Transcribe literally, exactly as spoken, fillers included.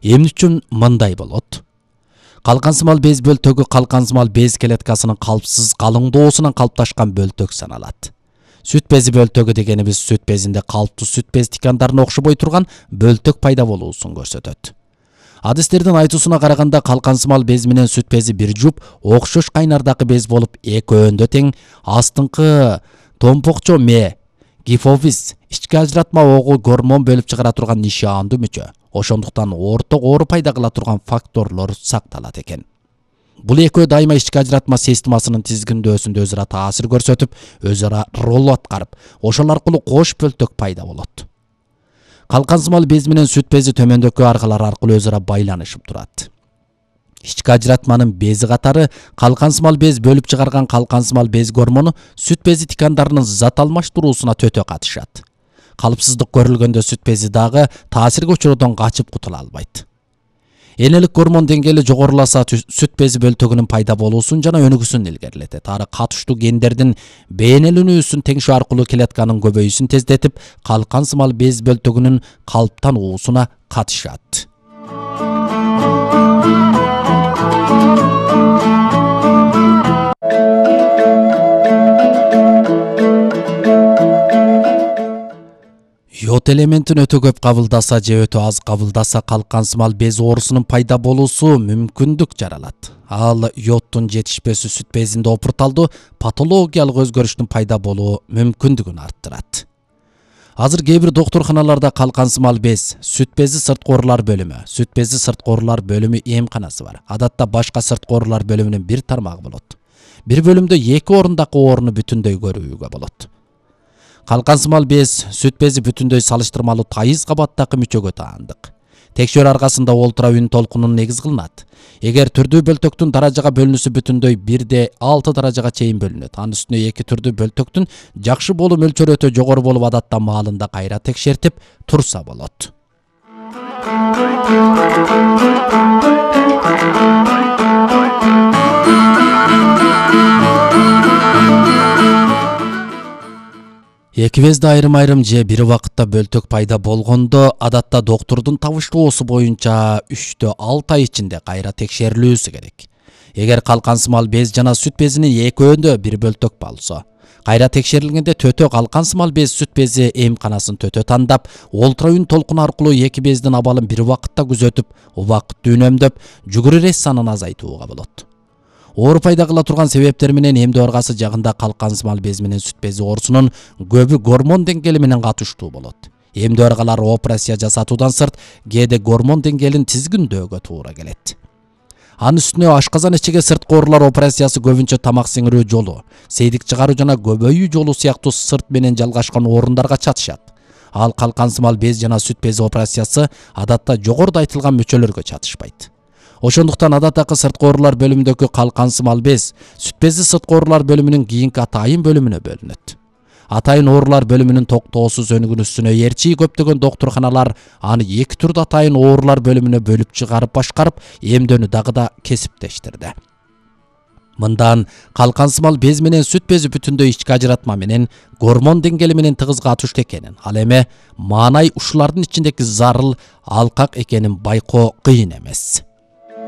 Эмне үчүн мындай болот? Калкансымал без бөлтөгү калкансымал без клеткасынын калпсыз калыңдоосунан калыпташкан бөлтөк саналат. Сүт бези бөлтөгү дегенибиз сүт безинде калыптуу сүт без тикандарына окшобой турган бөлтөк пайда болуусун көрсөтөт. Адистердин айтуусуна караганда калкансымал без менен сүт бези бир жуп окшош кайнардагы без болуп, экөөндөй тең. Астыңкы томпокчо ме, гифофиз, ички ажыратма огу гормон бөлүп чыгара турган нишаандуу мүчө. Ошондуктан орток оору пайда кыла турган факторлор сакталат экен. Бул экөө дайыма ички ажыратма системасынын тизгиндөөсүндө өзара таасир көрсөтүп, өзара роль аткарып, ошол аркылуу кош бөлтөк пайда болот. Калкансымал без менен сүт бези төмөндөккө аркалар аркылуу өзара байланышып турат. Ички ажыратманын бези катары калкансымал без бөлүп чыгарган калкансымал без гормону сүт бези тикандарынын зат алмаштыруусуна төтө катышат. Калыпсыздык көрүлгөндө сүт бези дагы таасирге учуруудан качып кутула албайт. Энелик гормон деңгээли жогоруласа сүт бези бөлтөгүнүн пайда болуусун жана өнүгүүсүн илгерилетет. Ары катыштуу гендердин бейнеленүүсүн теңшөө аркылуу клетканын көбөйүүсүн тездетип, калкансымал без бөлтөгүнүн калыптануусуна катышат. Йод элементин өтө көп кабылдаса же өтө аз кабылдаса калкансымал без оорусунун пайда болуусу мүмкүндүк жаралат. Ал йоддун жетишпөөсү сүт безинде опурталдуу патологиялык өзгөрүштүн пайда болуу мүмкүндүгүн арттырат. Азыр кээ бир доктурканаларда калкансымал без, сүт бези сырткы оорулар бөлүмү, сүт бези сырткы оорулар бөлүмү эмканасы бар. Адатта башка сырткы оорулар бөлүмүнүн бир тармагы болот. Бир бөлүмдө эки орундагы ооруну бүтүндөй көрүүгө болот. Калкансымал без, сүт бези бүтүндөй салыштырмалуу тайыз кабаттагы мүчөгө таандык. Текшөрүү аркасында ультраүн толкунун негиз кылынат. Эгер түрдүү бөлтөктүн даражага бөлүнүүсү бүтүндөй бирде алты даражага чейин бөлүнөт. Анын үстүнө эки түрдүү бөлтөктүн жакшы болуу мөлчөрү өтө жогору болуп, адатта маалында кайра текшертип турса болот. Эки безде айрым-айрым же бир убакытта бөлтөк пайда болгондо, адатта доктурдун табыштоосу боюнча үчтө алты ай ичинде кайра текшерилүүсү керек. Эгер калкансымал без жана сүт безинин экөөндө бир бөлтөк болсо, кайра текшерилгенде төтө калкансымал без сүт бези эмканасын төтө тандап, ультраүн толкун аркылуу эки бездин абалын бир убакытта күзөтүп, убакытты үнөмдөп, жүгүрү санын азайтууга болот. Оору пайда кыла турган себептер менен эмдөө аргасы жагында калкансымал без менен сүт бези оорусунун көбү гормон деңгээли менен катыштуу болот. Эмдөө аргалар операция жасатуудан сырт кээде гормон деңгээлин тизгиндөөгө туура келет. Анын үстүнө ашказан ичиге сырткы оорулар операциясы көбүнчө тамак сиңирүү жолу, сейдик чыгаруу жана көбөйүү жолу сыяктуу сырт менен жалгашкан орундарга чатышат. Ал калкансымал без жана сүт бези операциясы адатта жогоруда айтылган мүчөлөргө чатышпайт. Ошондуктан адаттагы сырткы оорулар бөлүмүндөгү калкансымал без сүт бези сырткы оорулар бөлүмүнүн кийинки атайын бөлүмүнө бөлүнөт. Атайын оорулар бөлүмүнүн токтоосуз өнүгүүсүнө ээрчи көптөгөн доктурканалар аны эки түрдүү атайын оорулар бөлүмүнө бөлүп чыгарып башкарып, эмдөөнү дагы да кесиптештирди. Мындан калкансымал без менен сүт бези бүтүндөй ички ажыратма менен гормон деңгээли менен тыгыз катыштуу экенин, ал эми маанай ушулардын ичиндеги зарыл алкак экенин байкоо кыйын эмес.